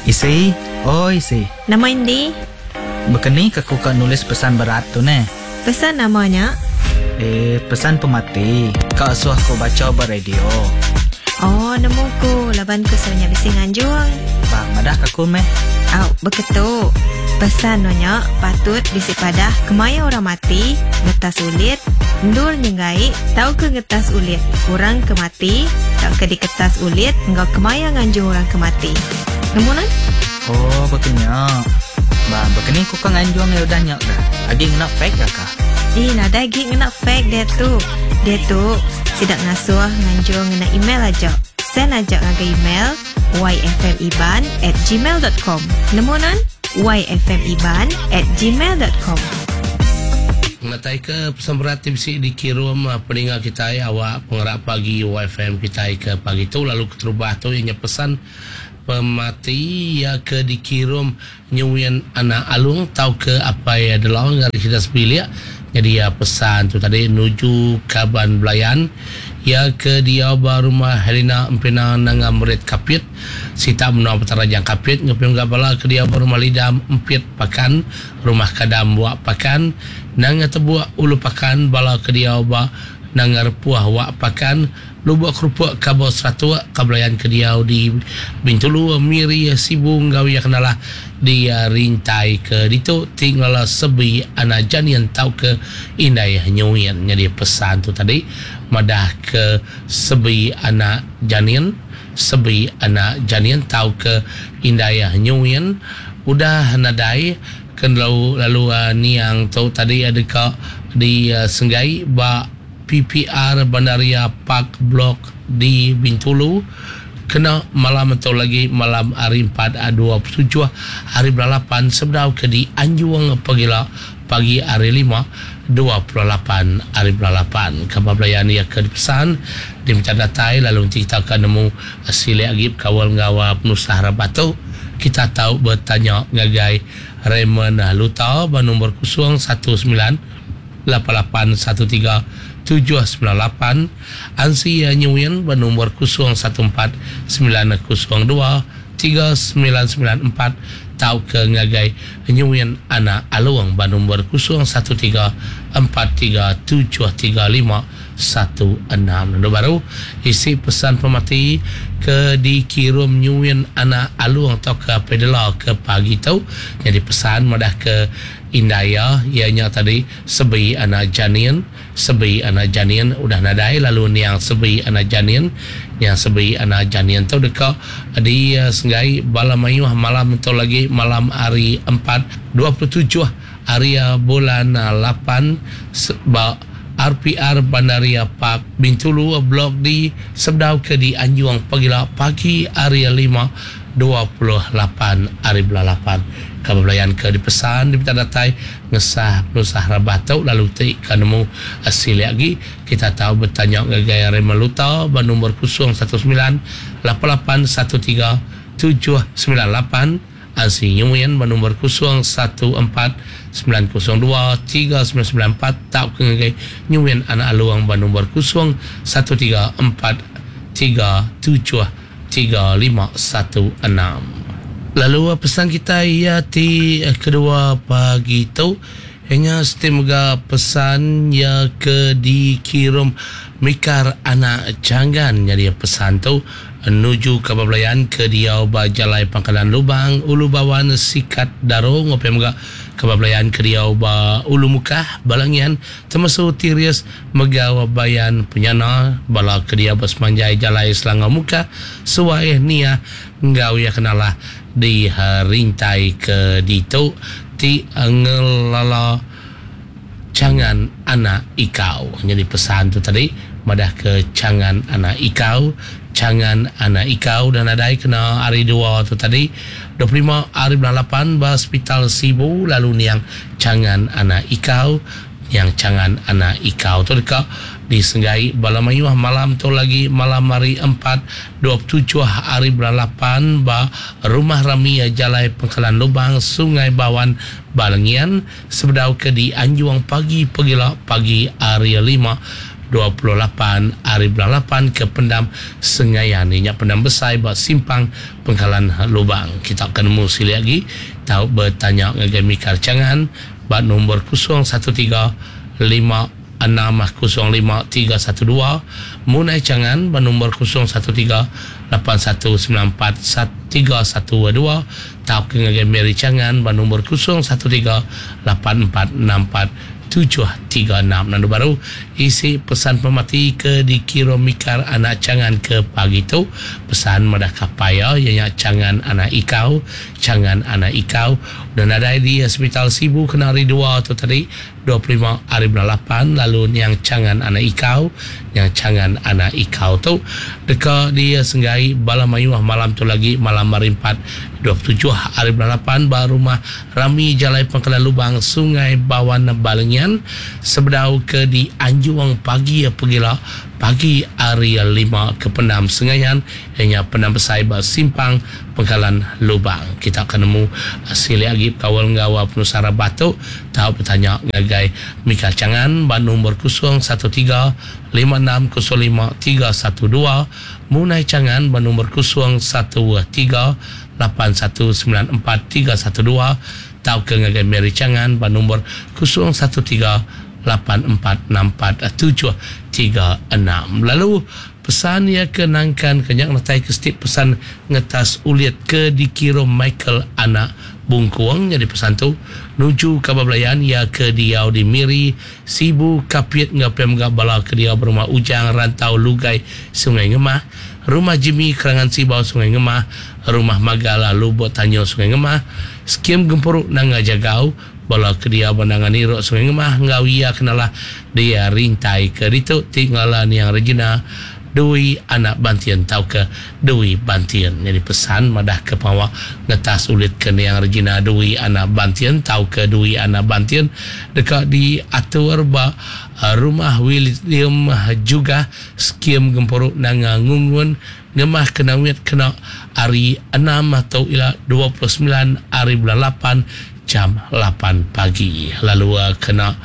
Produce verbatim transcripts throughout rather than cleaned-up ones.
Isi, oi isi. Nama indi? Bekeni ke ku ka nulis pesan berat tu neh? Pesan nama nya? Eh, pesan pemati. Ka asuh ku bacha ba radio. Oh, nemu ku laban ku selalu nya bisi nganjung. Bah, madah ka ku meh. Au, beketu. Pesan no nya patut bisi padah kemaya orang mati, ngetas ulit, endur nyenggai, tauka ngetas ulit orang ke mati, tauka diketas ulit enggau kemaya nganjung orang ke mati. Nemu nan? Oh, bekenya. Bah, bekeni ku ka nganjung ya udah nya dah. Agi ngena fax ka kah? Eh, nadai agi ngena fax dia tu. Dia tu sidak ngasuh nganjung ngena email aja. Send aja ngagai email y f m iban at gmail dot com. Nemu nan? y f m iban at gmail dot com. Ngatai ke pesan berat ti bisi dikirum peninga kitai awak pengerak pagi Y F M kitai ke pagi tu lalu keterubah tu ianya pesan pemati ya ke dikirum nyuin anak alung tau ke apai delong dari sida sebilik. Jadi ya pesan tu tadi nuju kaban belayan ya ke dia ba rumah Helena Empina Nanga Merit Kapit sita menua Petara Jang Kapit ngepim ga bala ke dia ba rumah Lidam Empit Pakan rumah Kadam Wak Pakan Nanga Tebuak Ulu Pakan bala ke dia ba Nanga Repuah Wak Pakan Lubuk Kerupuk Kabel Seratuk kabelayan ke dia di Bintulu Miri Sibu ngau ya kenalah di rintai ke ditu tinggal sebi anak janian tau ke indai nyuin. Jadi pesan tu tadi madah ke sebi anak janian sebi anak janian tau ke indai nyuin udah nadai ken lalu, lalu uh, niang tu tadi ada ka di uh, Senggai ba P P R Bandaria Park Blok di Bintulu kena malam atau lagi malam hari empat dua puluh tujuh hari bulan lapan sebedau ke di Anjuang pagila pagi hari lima dua puluh lapan hari bulan lapan. Khabar belayan ia ke dipesan diminta datai lalu nanti kita akan nemu silik lagi kawal ngawa penusah rabat tu. Kita tahu bertanya ngagai Raymond Luta ba nombor kosong satu sembilan lapan lapan satu tiga tujuh sembilan lapan, Ansi Nyuin ba nombor kosong satu empat sembilan kosong dua tiga sembilan sembilan empat, tau ke ngagai Nyuin anak Aluang ba nombor kosong satu tiga empat tiga tujuh tiga lima satu enam. Lalu baru isi pesan pemati ke dikirim Nyuin anak Aluang atau ke Pedela ke pagi tu. Jadi pesan madah ke Indaya ianya tadi sebi anak janin, sebi anak janin udah nadai lalu niang sebi anak janin, niang sebi anak janin tu deka di uh, Senggai bala mayuh malam tu lagi malam hari empat dua puluh tujuh hari bulan lapan ba R P R Bandaria Park Bintulu Blok D sebedau ke di Anjuang pagila pagi hari lima dua puluh lapan hari bulan lapan. Khabar belayan ke dipesan diminta datai ngesah penusah rabah tu lalu ti ka nemu silik lagi kita tahu bertanya ngagai Raymond Luta ba nombor kosong satu sembilan lapan lapan satu tiga tujuh sembilan lapan, Ansi Nyuin ba nombor kosong satu empat sembilan kosong dua tiga sembilan sembilan empat, tak ke ngagai Nyuin anak Aluang ba nombor kosong satu tiga empat tiga tujuh tiga lima satu enam. Lalu pesan kita ia ti kedua pagi tu hanya setimga pesan ya ke dikirim Mikar anak Janggan. Jadi pesan tu menuju ke belayan ke dia ba jalai Pangkalan Lubang Ulu Bawan Sikat Daro ngopi mega ke belayan ke dia ba Ulu Mukah Balangian termasuk Tirius Megawa Bayan Penyana bala ke dia ba semanjai jalai Selangor Mukah Suai Nia ngau ya kenalah di rintai ke ditu ti ngelala cangan anak ikau. Jadi pesan tu tadi madah ke cangan anak ikau, cangan anak ikau dan adai kena hari dua tu tadi dua puluh lima hari bulan lapan ba hospital Sibu lalu niang cangan anak ikau, yang cangan anak ikau tu dekat disenggai bala mayuh malam tu lagi malam hari empat dua puluh tujuh hari bulan lapan ba rumah rami jalai Pangkalan Lubang Sungai Bawan Balangian sebedau ke di Anjuang pagi pegila pagi hari lima dua puluh lapan hari bulan lapan ke pendam Sengayan inya pendam besai ba simpang Pengkalan Lubang. Kita akan nemu silik lagi tau bertanya ngagai Mikar Changan ba nombor kosong satu tiga lima enam kosong lima tiga satu dua, Munai Changan ba nombor kosong satu tiga lapan satu sembilan empat tiga satu dua, tau ke ngagai Mary Changan ba nombor kosong satu tiga lapan empat enam empat tujuh tiga enam. Lalu baru isi pesan pemati ke dikira Mikar anak Changan ke pagi tu. Pesan madah kapaya ianya Changan anak Ikau, Changan anak Ikau dan ada di Hospital Sibu kena hari dua tu tadi dua puluh lima hari bulan lapan. Lalu yang Changan anak Ikau, yang Changan anak Ikau tu deka dia senggai bala mayuh malam tu lagi malam hari empat dua puluh tujuh hari bulan lapan ba rumah Rami Jalai Pangkalan Lubang Sungai Bawan Balengian sebedau ke di Anjuang pagi pegila pagi hari lima ke Pendam Sengayan ianya Pendam Besai ba simpang Pangkalan Lubang. Kita akan nemu silik lagi kawal ngawa penusara batuk tau bertanya ngagai Mika Changan ba nombor kosong satu tiga lima enam kosong lima tiga satu dua, Munai Changan ba nombor kosong satu tiga lapan satu sembilan empat tiga satu dua, tau ke ngagai Mary Changan ba nombor kosong satu tiga lapan empat enam empat tujuh tiga enam. Lalu pesan ia ke nangkan kenyak natai ke setiap pesan ngetas uliat ke dikira Michael anak Bungkuang. Jadi pesan tu nuju kabar belayan ia ke diau di Miri Sibu Kapit ngapem gak bala ke diau berumah Ujang Rantau Lugai Sungai Ngemah, rumah Jimmy Kerangan Sibau Sungai Ngemah, rumah Magala Lubuk Tanyo Sungai Ngemah, skim Gempuruk Nanga Jagau bala ke dia bandangan Iruk Sungai Ngemah ngau ia kenalah dia rintai ke ditu tinggalan yang Regina Dui anak Bantian tau ke Dui Bantian. Jadi pesan madah ke pawak ngetas ulit ke niang Regina Dui anak Bantian tau ke Dui anak Bantian dekat diatur ba rumah William juga skim Gempuruk Nanga Ngungun Ngemah kenawit kena hari enam atau ila dua puluh sembilan hari bulan lapan jam lapan pagi. Lalu kena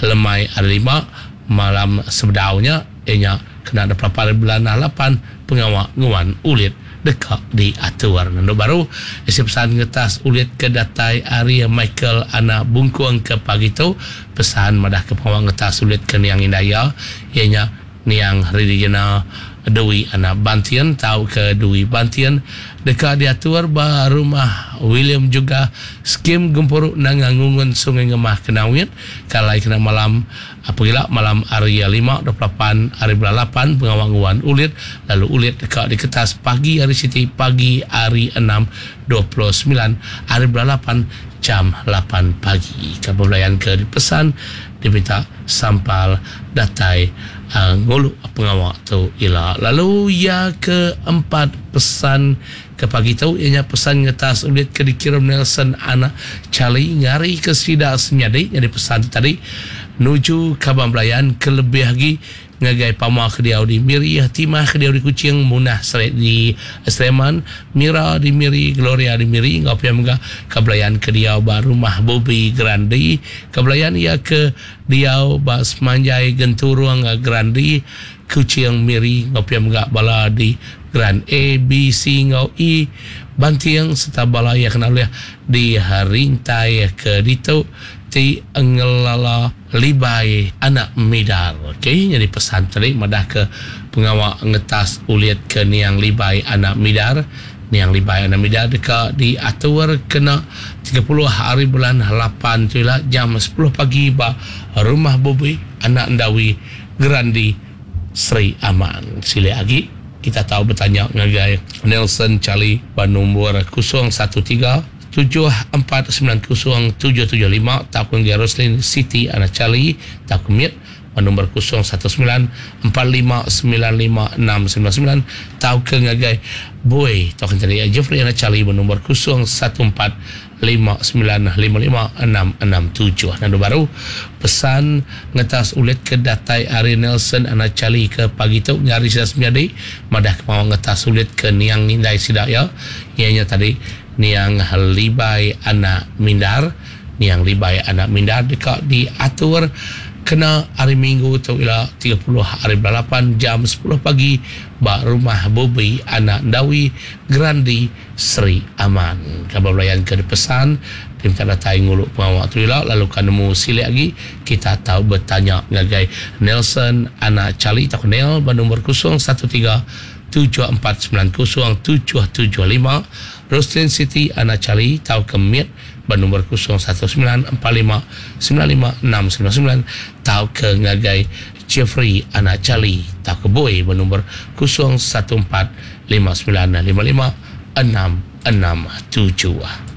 lemai hari lima malam sebedaunya ianya kena ada hari bulan lapan pengawak nguan ulit dekat diatur. Nando baru isi pesan ngetas ulit ke datai hari Michael anak Bungkuang ke pagi tu. Pesan madah ke pengawak ngetas ulit ke niang Indaya ianya niang Ridijana Dui anak Bantian tau ke Dui Bantian dekat diatur ba rumah William juga skim Gempuruk Nanga Ngungun Sungai Ngemah Kenawit kalai kena malam apa gila malam hari lima dua puluh lapan hari bulan lapan pengawang nguan ulit lalu ulit dekat di kertas pagi hari Siti pagi hari enam dua puluh sembilan hari bulan lapan jam lapan pagi. Kabar belayan ke dipesan diminta sampal datai uh, nguluk pengawak tu ila. Lalu ya keempat pesan ke pagi tu ianya pesan ngetas ulit ke dikirim Nelson anak Charlie ngari ke sida senyadi. Jadi pesan tu tadi nuju kabar belayan kelebih lagi ngagai pama ke diau di Miri, Timah ke diau di Kuching, Munah Seret di Sleman, Mira di Miri, Gloria di Miri, ngau pia mega kebelayan ke diau ba rumah Bobi Grandi, kebelayan ia ke diau ba Semanjai Genturung Grandi, Kuching Miri, ngau pia mega bala di Grand A, B, C ngau E, Bantiang serta bala ia kena oleh di rintai ke ditu ti ngelala Libai anak Midar. Okey, jadi pesan tadi madah ke pengawak ngetas uliat ke niang Libai anak Midar. Niang Libai anak Midar dekat diatur kena tiga puluh hari bulan lapan tu lah jam sepuluh pagi ba rumah Bobi anak Ndawi Grandi Sri Aman. Sila lagi kita tahu bertanya ngagai Nelson Charlie ba nombor kosong satu tiga tujuh empat sembilan kosong tujuh tujuh lima, takun Roslin City anak Charlie takun Miet nombor kosong satu sembilan empat lima sembilan lima enam sembilan sembilan, tau ke ngagai Boy takun tadi Jeffrey anak Charlie nombor kosong satu empat lima sembilan lima lima enam enam tujuh. Nando baru pesan ngetas ulit ke datai Ari Nelson anak Charlie ke pagi tu ngari sida sembiadi madah ke mau ngetas ulit ke niang indai sida ya ianya tadi niang Libai anak Mindar. Niang Libai anak Mindar dekat diatur Kena hari Minggu tu ila tiga puluh hari bulan lapan jam sepuluh pagi ba rumah Bobi anak Ndawi Grandi Sri Aman. Kabar belayan ke dipesan diminta datai ngulu pengawa tu ila, lalu kan nemu silik lagi kita tahu bertanya ngagai Nelson anak Charlie atau Nel ba nombor kosong satu tiga tujuh empat sembilan kosong tujuh tujuh lima, Roslin City anak Charlie tau ke Mit ba nombor kosong satu sembilan empat lima sembilan lima enam sembilan sembilan, tau ke ngagai Jeffrey anak Charlie tau ke Boy ba nombor kosong satu empat lima sembilan lima lima enam enam tujuh.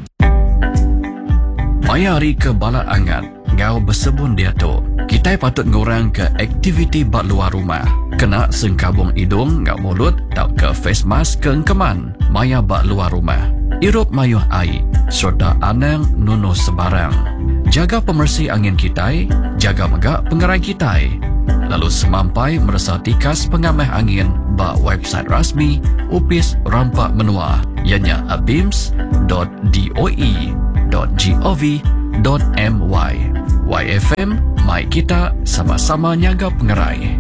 Maya hari ke bala angat ngau bersebun dia tu, kita patut ngurang ke aktiviti bak luar rumah. Kena sengkabung hidung ngau mulut tau ke face mask ke engkeman maya bak luar rumah. Irup mayuh air serta anang nunu sebarang. Jaga pemersi angin kitai, jaga megak pengerai kitai. Lalu semampai meresa tikas pengamah angin bak website rasmi Upis Rampak Menua ianya abims dot d o e dot g o v dot m y. Y F M, mai kita sama-sama nyaga pengerai.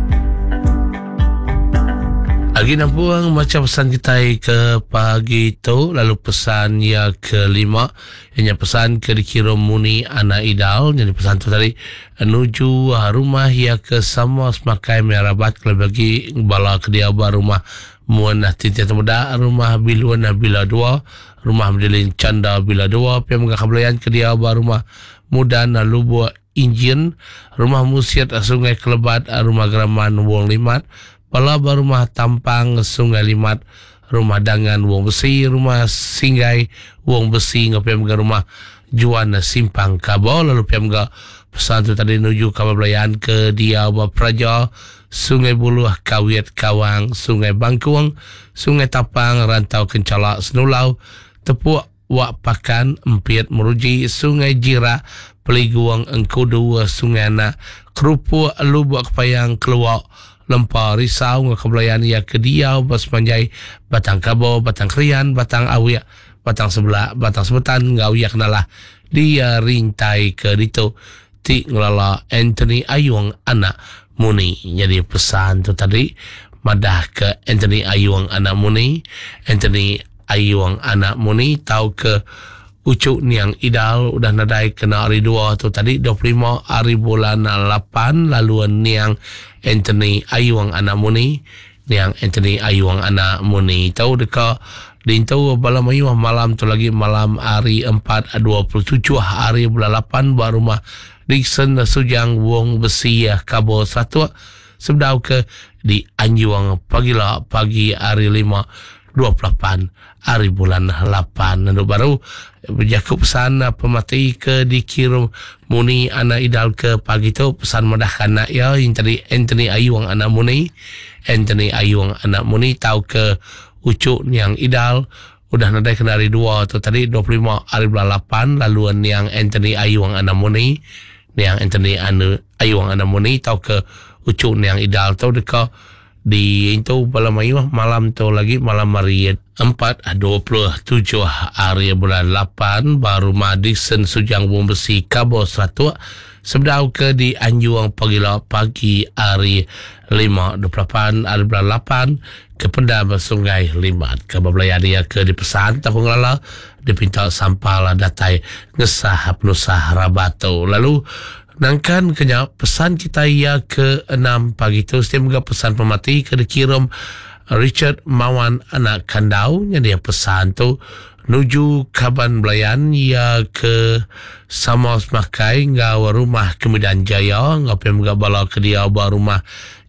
Agi nampuang macam pesan kita ke pagi tu, lalu pesan ya kelima ianya pesan ke dikirim Muni anak Idal. Jadi pesan tu tadi menuju rumah ya ke sama semakai merabat kalau bagi bala ke dia ba rumah Muan Tintin Temuda, rumah Biluan Bila dua, rumah Medilin Canda Bila dua, pihak menggak kebelayan ke dia ba rumah Mudan Lubuk Injin, rumah Musiat Sungai Kelebat, rumah Geraman Wong Limat, bala ba rumah Tampang Sungai Limat, rumah Dangan Wong Besi, rumah Singgai Wong Besi, ngapia menggak rumah Juan Simpang Kabo. Lalu pihak menggak pesan tu tadi menuju kabar belayan ke dia ba Praja, Sungai Buluh, Kawit, Kawang, Sungai Bangkuang, Sungai Tapang, Rantau Kencalak, Senulau, Tepuk, Wak Pakan, Empiet, Meruji, Sungai Jirak, Peliguang, Engkudu, Sungai Anak, Kerupuk, Lubuk Kepayang, Keluak, Lempa, Risau, Kebelayan, Ya Kediau, Basmanjai, Batang Kabo, Batang Krian, Batang Awiak, Batang Sebelah, Batang Sebetan, Ngau Ya Kenalah, dia rintai ke dito, ti ngelala Anthony Ayung anak Muni. Jadi pesan tu tadi madah ke Anthony Ayung anak Muni, Anthony Ayung anak Muni tau ke Ucuk Niang Idal udah nadai kena hari dua tu tadi dua puluh lima hari bulan lapan, lalu Niang Anthony Ayung anak Muni, Niang Anthony Ayung anak Muni tau deka dintu bala mayuh malam tu lagi malam hari empat dua puluh tujuh hari bulan lapan ba rumah Dixon Sujang Wong Besi Kabo Satu sebdau ke di Anjuang pagila pagi hari lima dua puluh lapan hari bulan lapan. Lalu baru berjakub pesan pemati ke dikirim Muni anak Idal ke pagi tu pesan madah kanak ya yang tadi Anthony Ayung anak Muni, Anthony Ayung anak Muni tau ke Ucuk Niang Idal udah nadai kena hari dua tu tadi dua puluh lima hari bulan lapan, lalu Niang Anthony Ayung anak Muni, Niang Anthony anu Ayung anak Muni tau ke Ucuk Niang Idal tau deka di itu bala mayuh malam tu lagi malam hari empat dua puluh tujuh hari bulan lapan baru Madison Sujang Wong Besi Kabo Seratuk sebdau ke di Anjuang pagila pagi hari lima dua puluh lapan hari bulan lapan ke Pendam Sungai Limat. Ke berbelaya dia ke dipesan tahu ngelala dipinta sampah lah datai ngesah penusah rabato. Lalu nangkan kenya pesan kita ia ke enam pagi tu setiap juga pesan pemati ke dikirim Richard Mawan anak Kandau. Yang dia pesan tu nuju Kaban Belayan ia ke sama semakai ngau rumah Kemudian Jaya ngau pem bala ke dia ba rumah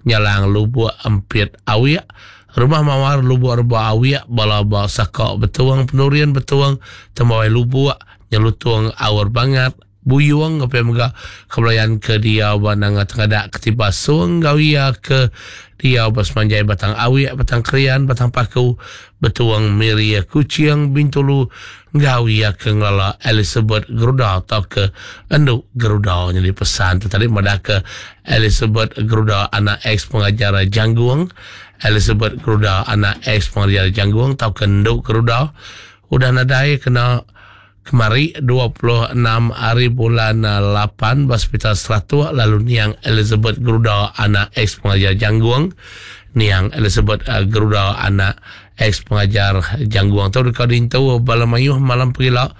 Nyalang Lubuk Empit Awiak, rumah Mawar Lubuk Reba Awiak, bala ba Sakok Betuang Penurian Betuang Tembawai Lubuk Nyelutung Awar Bangat Buyuang apa yang megah kebelayan ke dia banang tengadak ketiba suang gawia ke dia bersemanjai Batang Awiak, Batang Krian, Batang Paku, Betuang Miria Kuciang Bintulu gawia ke ngelala Elizabeth Geruda atau ke Enduk Geruda. Jadi pesan tu tadi madah ke Elizabeth Geruda anak ex pengajar Jangguang, Elizabeth Geruda anak ex pengajar Jangguang atau ke Enduk Geruda udah nadai kena Kemari dua puluh enam hari bulan lapan ba Hospital Seratuk lalu niang Elizabeth Geruda anak ex pengajar Janggung. Niang Elizabeth Geruda anak ex pengajar Janggung tu deka diintu bala mayuh malam pegila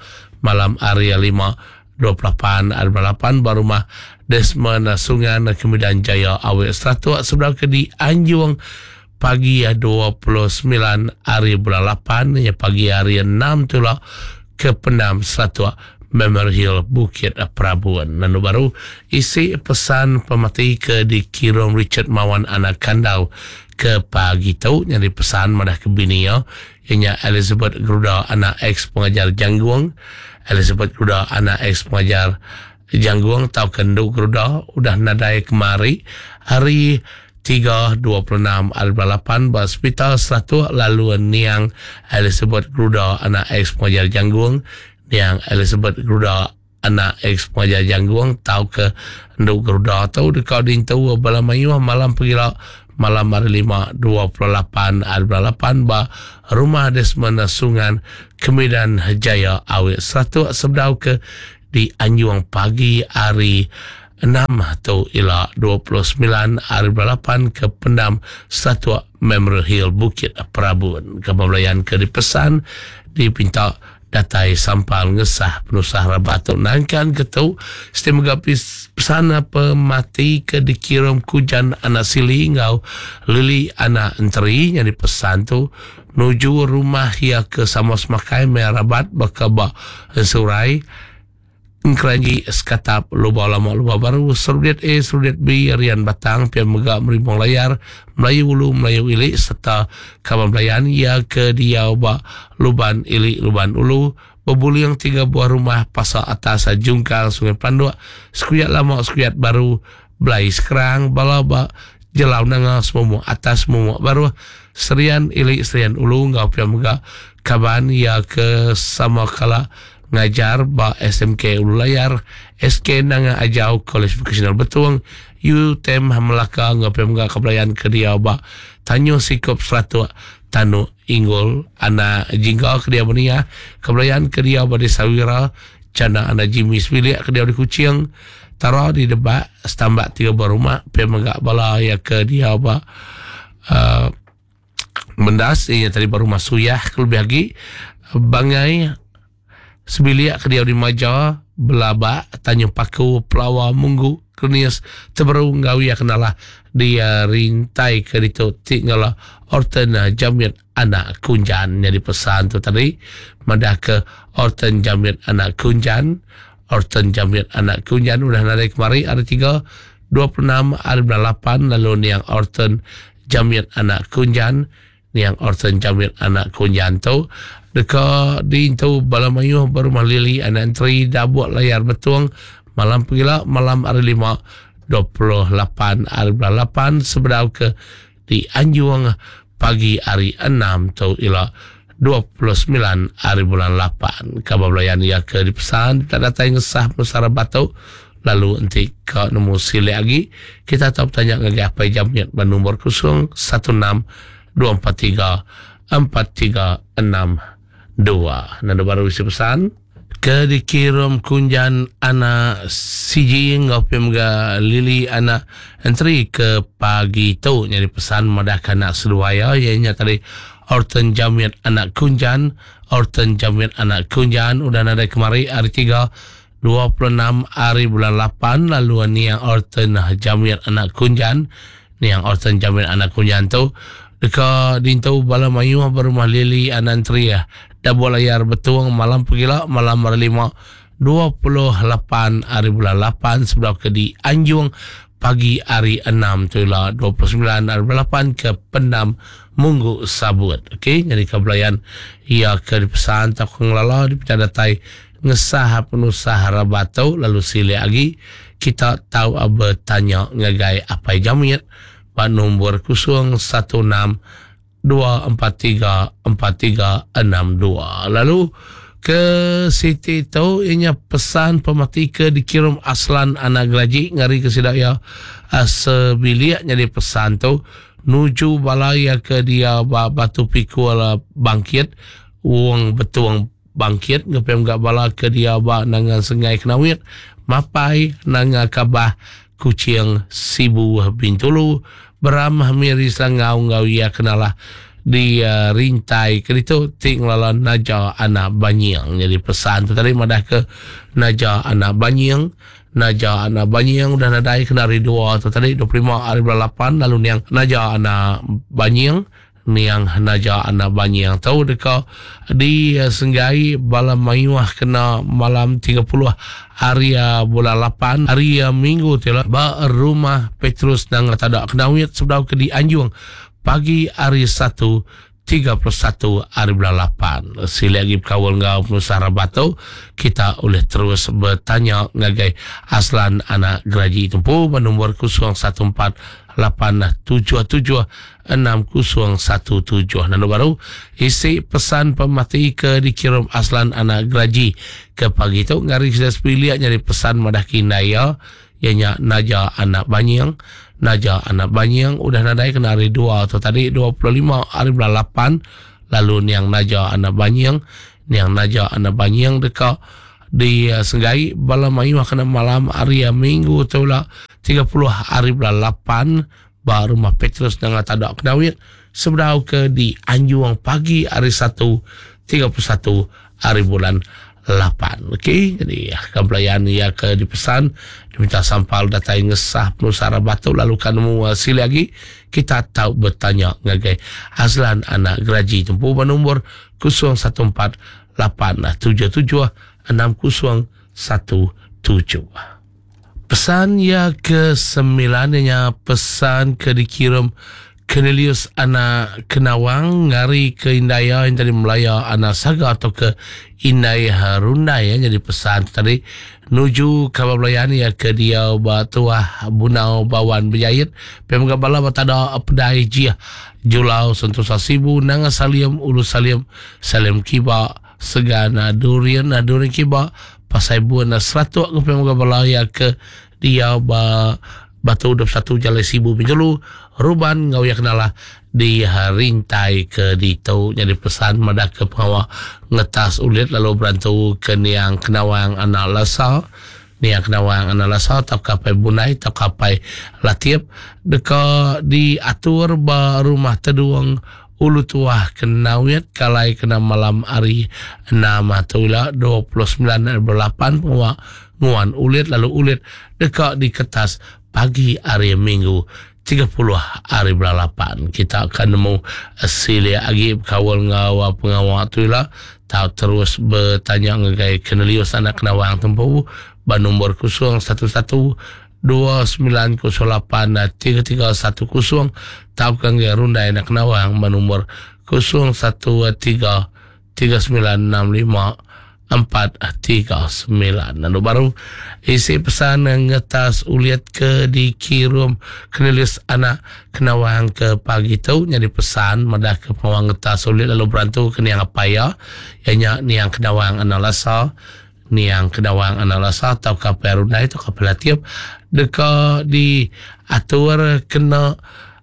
malam hari lima dua puluh lapan hari bulan lapan ba rumah Desmond Sungan Kemidan Jaya Awik Seratuk sebedau ke di Anjung pagi dua puluh sembilan hari bulan lapan ya pagi hari enam tu lah ke Pendam Seratuk Memorial Hill Bukit Prabun. Lalu baru isi pesan pemati ke dikirim Richard Mawan anak Kandau ke pagi tu nyari pesan madah ke bini ya ianya Elizabeth Geruda anak ex pengajar Janggung. Elizabeth Geruda anak ex pengajar Janggung tau kendu Geruda udah nadai kemari hari tiga dua puluh enam hari bulan lapan ba Hospital Seratuk lalu niang Elizabeth Geruda anak ex pengajar Janggung. Niang Elizabeth Geruda anak ex pengajar Janggung tau ke endu Geruda tu deka diintu bala mayuh malam pegila malam hari lima dua puluh lapan hari bulan lapan ba rumah Desmond Sungan Kemidan Jaya Awik Seratuk sebedau ke di Anjung pagi hari enam tu ialah dua puluh sembilan hari bulan lapan ke Pendam Seratuk Memorial Hill Bukit Prabun. Kebelayan ke dipesan dipinta datai sampal ngesah penusah rabat tu nangkan ketu sistem gapis pesan pemati ke dikirim Kujan anak Sili ngau Lili anak Enteri yang dipesan tu nuju rumah ia ke Samos Makai Merabat bakaba Ensurai Engkeranji Sekatap Lubau Lama Lubau Baru Serudiat A Serudiat B Rian Batang Pian Megak Meribong Layar Melayu Ulu Melayu Ilik serta kawan belayan ia ke diau ba Luban Ilik Luban Ulu Bebuling tiga buah rumah Pasar Atas Jungkal Sungai Panduk Sekuyat Lama Sekuyat Baru Belai Sekerang Balaba Jelau Nanga Semua Atas Semua Baru Serian Ilik Serian Ulu ngau Pian Megak kaban ia ke sama kala ngajar ba S M K Ulu Layar, S K Nanga Ajau College Vocational Betung, U T M Melaka ngau Pian Megak kebelayan ke dia ba Tanyo Sikop Seratuk Tanu Inggul anak Jingga ke dia Benia kebelayan ke dia ba Desa Wira Cana anak Jimmy Sebilik ke dia di Kuching Tara di Debak setambak tiga buah rumah Pian Megak bala ya ke dia ba uh, Mendas ia tadi baru masuk ya lebih lagi Bangai Sebilik ke dia di Maja Belabak Tanjung Paku Pelawa Munggu Kernias Teberu Ngawi kenalah dia rintai ke ditu tinggal Orton Jamit anak Kunjan jadi pesan tu tadi madah ke Orton Jamit anak Kunjan Orton Jamit anak Kunjan udah naik kemari hari tiga dua puluh enam hari bulan lapan lalu niang Orton Jamit anak Kunjan niang Orton Jamit anak Kunjan tu deka diintu bala mayuh berumah Lili anak entri dabuk layar betung malam pegila malam hari lima dua puluh lapan hari bulan lapan sebedau ke di Anjung pagi hari enam tu ila dua puluh sembilan hari bulan lapan. Kabar belayan ia ke dipesan tak datang ngesah pesara batuk lalu nanti ke nemu silik lagi kita tahu bertanya lagi apa jamnya nombor kosong satu enam dua empat tiga empat tiga enam dua. Nanda baru isi pesan ke dikirim Kunjan anak C J ngau pemga Lili anak entry ke pagi tu nyari pesan madah anak seduaya ianya tadi Orton Jamit anak Kunjan Orton Jamit anak Kunjan udah nadai kemari hari tiga dua puluh enam hari bulan lapan lalu niang Orton Jamit anak Kunjan niang Orton Jamit anak Kunjan tu deka dintu bala mayuh berumah Lili anak entry ya Dabu layar betuang malam pegila malam hari lima dua puluh lapan hari bulan lapan sebelum ke di Anjung pagi hari enam tu lah dua puluh sembilan hari bulan lapan ke Pendam Munggu Sabut. Okey, jadi kebelayan ia ke dipesan tak ngelala di datai ngesah penusah rabatu lalu silik lagi kita tahu bertanya ngagai apa jamit pak nombor kosong satu enam dua empat tiga empat tiga enam dua. Lalu ke Siti tu ianya pesan pemati ke dikirim Aslan anak geraji ngari ke sidak ya sebiliak jadi pesan tu nuju balaya ke dia batu pikul bangkit wong betuang Bangkit ngepem gak bala ke dia ba Nanga Sengai Kenawit, Mapai Nanga Kabah, Kuching, Sibu, Bintulu, Beram, Miri, Selangau ngau ia kenalah di uh, rintai ke ditu ti ngelala Naja anak Banying. Jadi pesan tu tadi madah ke Naja anak Banying, Naja anak Banying udah nadai kena hari dua tu tadi dua puluh lima hari bulan lapan, lalu niang Naja anak Banying, niang Naja anak Banying tau deka di uh, Senggai bala mayuh kena malam tiga puluh hari uh, bulan lapan hari uh, Minggu tu lah ba rumah Petrus Nanga Tadak Kenawit sebedau ke di Anjung pagi hari satu tiga puluh satu hari bulan lapan. Sila lagi berkawal ngau penusah Rabato, kita boleh terus bertanya ngagai Aslan anak Geraji Tumpu bernombor kosong satu empat lapan tujuh tujuh enam kosong satu tujuh. Lalu baru isi pesan pemati ke dikirim Aslan anak Geraji ke pagi tu ngari sudah sepilihat nyari pesan madah kinaya ianya Naja anak Banying. Naja anak Banying udah nadai kena hari dua atau tadi dua puluh lima hari bulan lapan, lalu niang Naja anak Banying, niang Naja anak Banying dekat di uh, Senggai bala mayu kena malam hari Minggu tu lah tiga puluh hari bulan lapan ba rumah Petrus dengan Tadak Kenawit sebedau ke di Anjuang pagi hari satu tiga puluh satu hari bulan lapan. Okey, jadi kebelayan ia ke dipesan diminta sampal datai ngesah penusara batu lalu kan mu uh, sili lagi kita tahu bertanya ngagai Azlan anak Geraji tempuh bernombor kosong satu empat lapan tujuh tujuh enam kosong satu tujuh. Pesan ya ke sembilannya pesan ke dikirim Cornelius anak Kenawang ngari ke Indaya yang tadi Melaya anak Saga atau ke Indai Harundai ya. Jadi pesan tadi nuju kabar belayan ya ke dia Batuah Bunau Bawan Berjayit Pemga Bala Batada Pedai Jia Julau Sentosa Sibu Nanga Salim Ulu Salim Salim Kiba Segana Durian Durian Kiba Pasai Buana Seratuk ke Pemga Bala ya ke dia ba Batu dua puluh satu Jalai Sibu Bintulu Ruban ngau ya kenalah di rintai ke ditu. Jadi pesan madah ke pengawal ngetas ulit lalu berantu ke niang Kenawang anak Lasa, niang Kenawang anak Lasa tau kapai Bunai tau kapai Latiep deka diatur ba rumah teduang Ulu Tuah Kenawit kalai kena malam hari enam atau ila dua puluh sembilan lapan pengawal nguan ulit lalu ulit deka diketas pagi hari Minggu tiga puluh hari bulan lapan. Kita akan nemu silia lagi kawal ngawa pengawal tu lah. Tahu terus bertanya ngagai Cornelius anak Kenawang tempu ba nombor kosong satu satu dua sembilan kosong lapan tiga tiga satu kosong. Tahu kan Rundai anak Kenawang ba nombor kosong satu tiga tiga sembilan enam lima empat tiga sembilan. Lalu baru isi pesan ngetas uliat ke dikirim Cornelius anak Kenawang ke pagi tu. Jadi pesan madah ke pengawang ngetas uliat lalu berantu ke niang apa ya ianya niang Kenawang anak Lasa, niang Kenawang anak Lasa atau kapai Rundai atau kapai Latiep deka diatur kena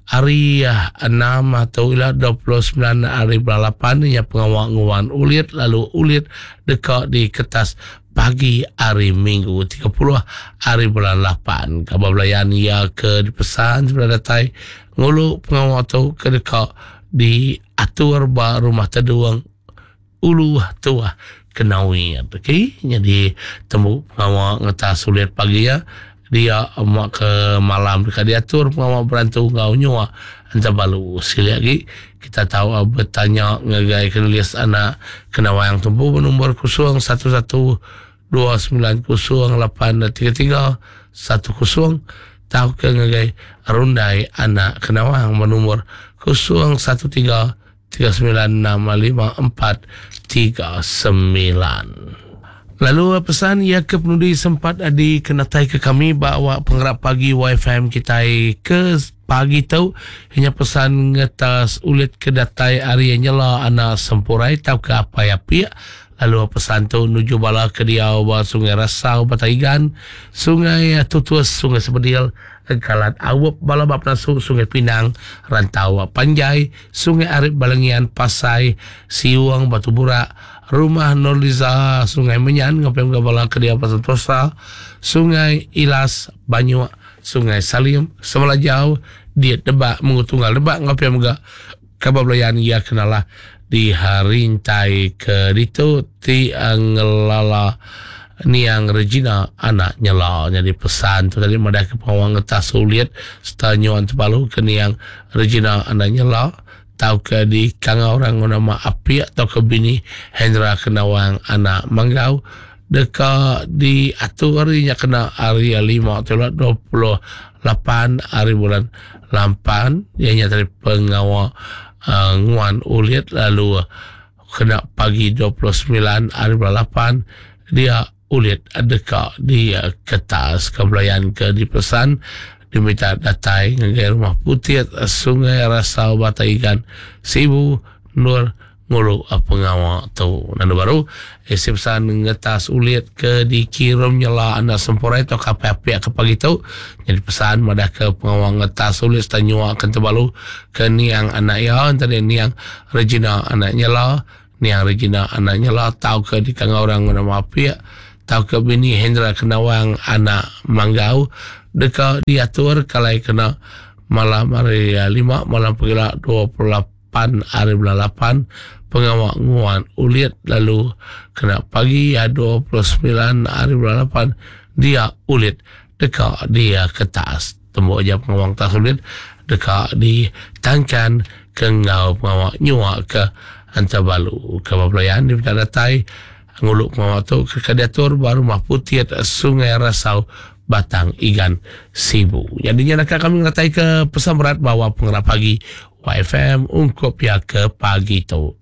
hari enam atau ila dua puluh sembilan hari bulan lapan ya pengawal nguan ulit lalu ulit dekat di kertas pagi hari Minggu tiga puluh hari bulan lapan. Kabar belayan ya ke dipesan sebelah datai ngulu pengawal tu ke dekat diatur ba rumah teduang Ulu Tuah Kenawi. Okey, jadi temu pengawal ngetas ulit pagi ya dia mak ke malam dekat diatur pengawal berantu ngau nyua entah balu. Sekali lagi kita tahu bertanya ngagai Cornelius anak Kenawang tempu bernombor kosong satu satu dua sembilan kosong lapan tiga tiga satu kosong. Tahu ke ngagai Rundai anak Kenawang bernombor kosong satu tiga tiga sembilan enam lima empat tiga sembilan. Lalu pesan ia ke penudi sempat dikenatai ke kami bahawa penggerak pagi Y F M kita ke pagi tu hanya pesan ngetas ulit ke datai hari nyela anak sempurai tau ke apa ya pia Lalu pesan tu nuju bala ke diau ba Sungai Rasau Batang Igan, Sungai Tutus, Sungai Sebedil, Galat Awup, bala ba Penasu, Sungai Pinang, Rantau Panjai, Sungai Arip Balengian, Pasai, Siung, Batu Burak, Rumah Norliza, Sungai Menyan, ngapim ke bala ke diau ba Sentosa, Sungai Ilas, Banyuk, Sungai Salim, Semelajau, Diet Debak, Mengutunggal Debak, ngapim ke kabar belayan ia kenalah di harintai ke ditu ti ngelala niang Regina anak nyela. Jadi pesan tu tadi madah ke pengawang ngetas sulit serta nyuan terpalu ke niang Regina anak nyela tau ke di kangau orang nama Api atau ke bini Hendra Kenawang anak Manggau deka diatur harinya kena hari lima dua puluh lapan hari bulan lapan ianya dari pengawal uh, nguan ulit lalu kena pagi dua puluh sembilan hari bulan lapan dia ulit deka di uh, kertas kebelayan ke dipesan diminta datai ngagai rumah putih Sungai Rasau Batang Igan Sibu Nur ngulu pengawal tu. Nandu baru isi pesan ngetas ulit ke dikirim nyela anak sempurai atau kapai-api ke pagi tu. Jadi pesan madah ke pengawal ngetas ulit serta nyua ke terbalu ke niang anak ya tadi niang Regina anak nyela, niang Regina anak nyela tau ke dikangau orang nama api tau ke bini Hendra Kenawang anak Manggau deka diatur kalai kena malam hari lima malam pegila dua puluh lapan hari bulan lapan pengawal nguan ulit lalu kena pagi dua puluh sembilan hari bulan lapan dia ulit deka dia kertas tembok aja pengawal tas ulit deka ditangkan ke ngau pengawal nyua ke Antabalu ke pelayan di datai nguluk pengawal tu ke diatur baru rumah putih Sungai Rasau Batang Igan Sibu. Jadinya nak kami ngatai ke pesan berat bawa pengerap pagi Y F M ungkup ya ke pagi tu.